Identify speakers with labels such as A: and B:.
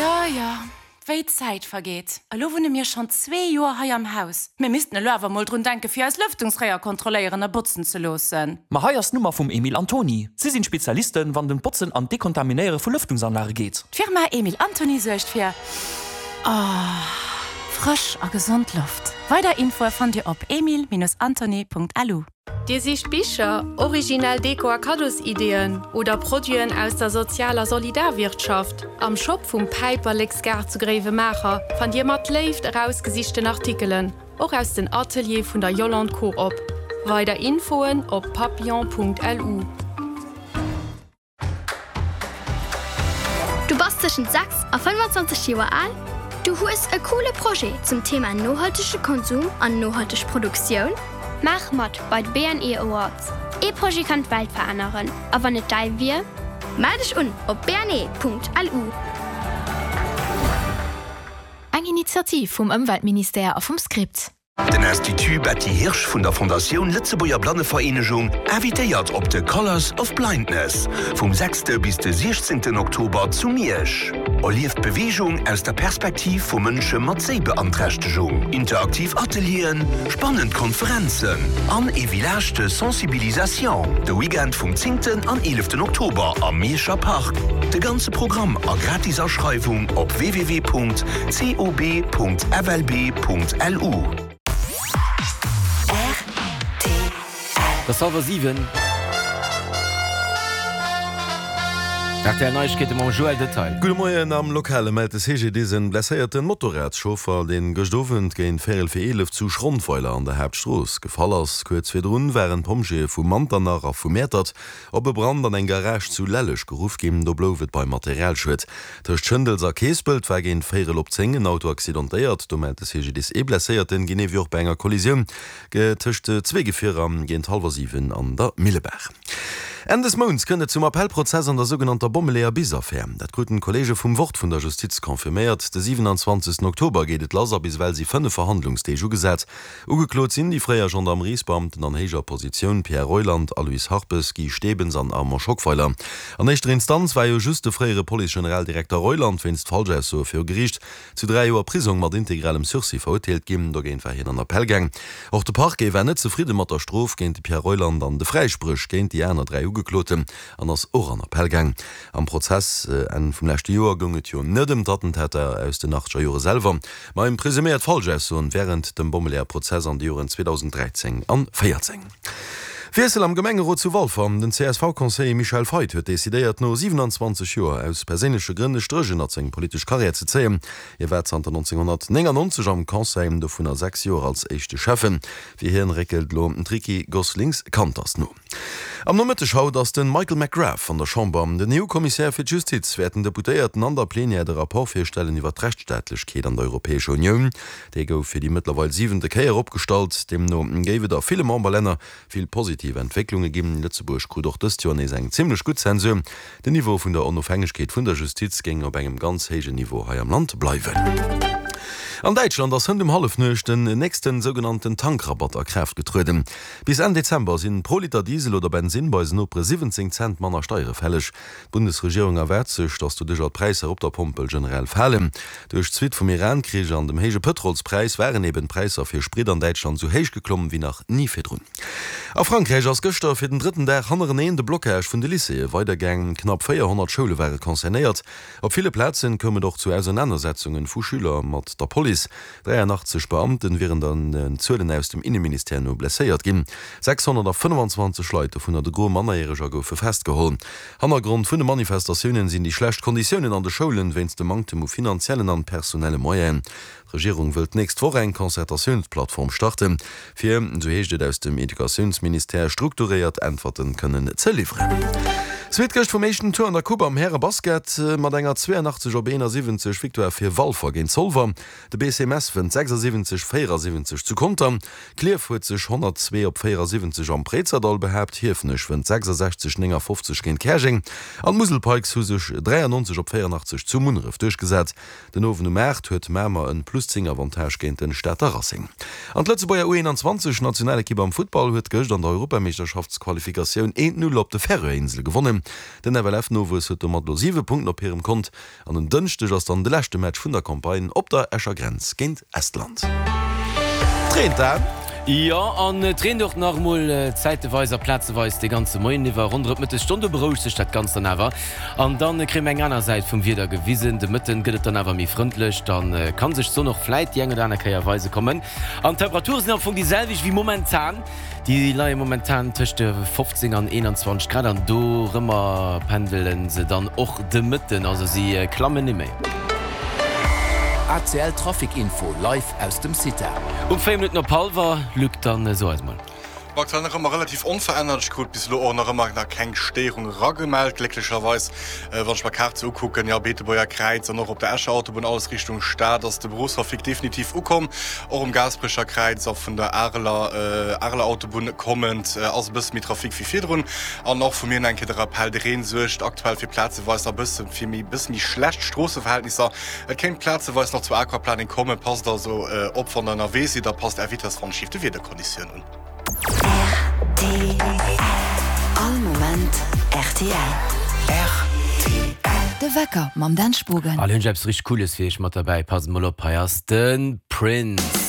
A: Jo, jo, wéi d'Zäit vergeet. Elo wunne mir schonn zwee Joer hei am Haus. Mir missten elo awer mol drun denken, fir eis Lëftungsréier kontrolléieren a botzen ze loossen.
B: Ma hei ass d'Nummer vum Emil Antony. Si sinn Spezialisten, wann et ëm d'Botzen an d'Dekontaminéiere vu Lëftungsanlage geet.
A: D'Firma Emil Antony suergt fir frësch a gesond Loft. Weider Infoe fannt Dir op emil-antony.lu.
C: Dir sicht Bicher, originell Deko a Kaddosideeën oder Produiten aus der Sozial a Solidarwirtschaft? Am Shop vum Päiperleksgaart zu Gréiwemaacher fannt Dir mat Léift erausgesichten Artikelen, och aus den Ateliere vun der Yolande Coop. Weider Infoen op papillon.lu.
D: Du bass tëschent 6 a 25 Joer al? Du hues e coole Projet zum Thema nohaltege Konsum an nohalteg Produktioun? Maach mat bei de BNE Awards! Ee Projet kann d'Welt veränneren, a wann et däi wier? Mell dech un op bne.lu.
E: Eng Initiativ vum Ëmweltministère a vum Script.
F: Den Institut Betty Hirsch vun der Fondatioun Lëtzebuerger Blannevereenegung invitéiert op de Colours of Blindness vum sechste bis de siechzéngten Oktober zu Miersch. Erlieft Beweegung aus der Perspektiv vu Mënsche mat Séibeanträchtegung. Interaktiv Atelieren, spannend Konferenzen an ee Village de Sensibilisation de Weekend vum zéngten an eeleften Oktober am Mierscher Park. De ganze Programm a gratis Aschreiwung op www. cob.flb.lu.
G: Et ass hallwer 7. Rtl Neiegkeete mam Joël Detail.
H: Gudde Moien, Am Lokale mellt de CGDIS en blesséierten Motorradschauffer, deen gëscht Owend géint véierel fir 11 zu Schrondweiler an der Haaptstrooss gefall ass. Kuerz virdrun waren d'Pompjeeë vu Manternach a vu Mäertert op e Brand an eng Garage zu Lelleg geruff ginn. Do blouf et beim Materialschued. Tëscht Schëndels a Keespelt war géint véierel op 10 en Auto accidentéiert. Do mellt de CGDIS ee Blesséierten, genee wéi och bei enger Kollisioun tëscht zwee Gefierer géint hallwer 7 an der Millebaach. Enn des Mounts kënnt et zum Appellprozess an der sougenannter Bommeleeër-Bis-Affär. Dat kruten d'Kolleege vum Wort vun der Justiz confirméiert. De 27 Oktober geet et lass a bis ewell si 5 Verhandlungsdeeg ugesat. Ugeklot sinn déi fréier Gendarmeriesbeamten an héijer Positioun Pierre Reuland, Aloyse Harpes, Guy Stebens an Armand Schockweiler. An éischter Instanz war jo just de fréiere Police-Generaldirekter Reuland wéinst Falschaussoe viru Geriicht zu 3 Joer Prisong mat integralem Sursis verurteelt ginn. Dogéint war hien an Appell gaang. Och de Parquet war net zefridde mat der Strof géint de Pierre Reuland an de Fräispréch géint déi aner 3 Ugekloten an ass och an Appell gaang. Am Prozess Enn vum leschte Joer goung et jo net ëm d'Attentater aus den achtzeger Jore selwer, ma ëm presuméiert Falschaussoen wärend dem Bommeleeër-Prozess an de Joren 2013 an 14. Wiessel am Gemengerot zu Walfer, Den CSV-Conseiller Michel Feith huet decidéiert, no 27 Joer aus perséinleche Grënn e Stréch ënnert seng politesch Karriär ze zéien. Hie war zanter 1999 am Conseil, dovunner 6 Joer als éischte Schäffen. Fir hien réckelt elo d'Ricky Goslings-Kanters no. Am Nomëtteg haut ass de Michael McGrath an der Chamber. Den EU-Kommissär fir d'Justiz wäert den Deputéierten an der Plenière de Rapport virstellen iwwer d'Rechtsstaatlechkeet an der Europäescher Unioun. Dee gouf fir déi mëttlerweil siwente Kéier opgestallt. Deemno géif et a ville Memberlänner vill positiv Entwécklunge ginn. Lëtzebuerg krut och dëst Joer nees eng zimmlech gutt Zensur. Den Niveau vun der Onofhängegkeet vun der Justiz géing op engem ganz héijen Niveau hei am Land bleiwen. An Däitschland ass hënt um Hallefnuecht den nächsten sougenannten Tankrabatt a Kraaft getrueden. Bis Enn Dezember sinn pro Liter Diesel oder Bensinn bei eisen Nopere 17 Cent manner Steiere fälleg. D'Bundesregierung erwaart sech, datt doduercher d'Präisser op der Pompel generell falen. Duerch d'Suite vum Iran-Krich an dem héije Pëtrolspräis waren eben d'Präisser fir Sprit an Däitschland esou héich geklomm wéi nach ni virdrun. A Frankräich ass gëschter fir den drëtten Dag hannereneen de Blockage vun de Lycéeë weidergaang. Knapp 400 Schoule ware concernéiert. Op ville Plazen koum et och zu Ausernanersetzungen vu Schüler mat der Police. 83 Beamten wieren den Zuelen aus dem Inneministère no blesséiert ginn. 625 Leit, dovunner de Gros Mannerjäreger, goufe festgeholl. Hannergrond vun de Manifestatiounen sinn déi schlecht Konditiounen an de Schoulen wéinst dem Manktem u finanziellen an personelle Moyenen. D'Regierung wëllt d'nächst Woch eng Concertatiounsplattform starten, fir, esou heescht et aus dem Educatiounsministère, strukturéiert Äntwerten kënnen ze liwweren. Zweet gëscht vum éischten Tour an der Coupe am Härebasket mat enger 82 op 71 Victoire fir Walfer géint Zolwer. De BC Mess wënnt 76, 74 zu Conter. Klierf huet sech 102 op 74 am Préizerdall behaapt. Hiefenech wënnt 66, 59 géint Käerjeng an d'Musel Pikes hu sech 93 op 84 zu Munneref duerchgesat. Den Owend um 8 huet Mamer en plus 10 Avantage géint den Stater Racing. An d'Lëtzebuerger U21 Nationalekipp am Futtball huet gëscht an der Europameeschterschaftsqualifikatioun 1, 0 op de Färöerinsele gewonnen. Tottenham. Den FLF-Nowuess huet domat elo 7 Punkten op hirem Kont An en Dënschdeg ass dann de leschte Match vun der Campagne op der Escher Grenz géint Estland. Et reent, Dan.
G: Jo, an et reent och nach emol zäiteweis a plazeweis de ganze Moien iwwer. Ronderëm d'Mëttesstonn, do berouegt sech dat Ganzt dann awer an dann kréie mer eng aner Säit vum Wieder gewisen. De Mëtten gëtt et dann awer méi frëndlech, da ka sech d'Sonn och vläit déi eng oder aner Kéier weise kommen. An d'Temperature sinn am Fong déi selwecht wéi momentan. Déi leie momentan tëscht de 15 an 21 Grad an dorëmmer pendele se dann och de Mëtten, also si klammen ni méi.
I: ACL Trafic Info live aus dem CITA.
G: Um 4 Minutten op hallwer, Luc, dann so eis mol.
J: Aktuell nach ëmmer relativ onverännert. Ech krut bis elo och nach ëmmer nach keng Stéierung eragemellt, glécklecherweis. Wann ech mer d'Kaart sou ukucken, jo, Beetebuerger Kräiz an och op der Escher Autobunn, alles Richtung Stad, ass de Berufstrafic definitiv ukomm. Och um Gaasperecher Kräiz a vun der Areler Areler Autobunn kommend ass e bësse méi Trafic wéi virdrun. An och vu mir nach eng Kéier de Rappell, De Reen suergt aktuell fir plazeweis nach bësse fir méi bësse méi schlecht Stroosseverhältnisser. Et kéint plazeweis nach zu Aquaplaning kommen. Passt also op wann der ënnerwee sidd a passt är Vitess wann schief de Wiederkonditioun un.
K: Rtl. All Moment rtl.
G: Rtl.
K: De Wecker mam Dan Spogen.
G: An hunn ech eppes richteg Cooles fir iech mat derbäi. Passt mol op, hei ass de Prince.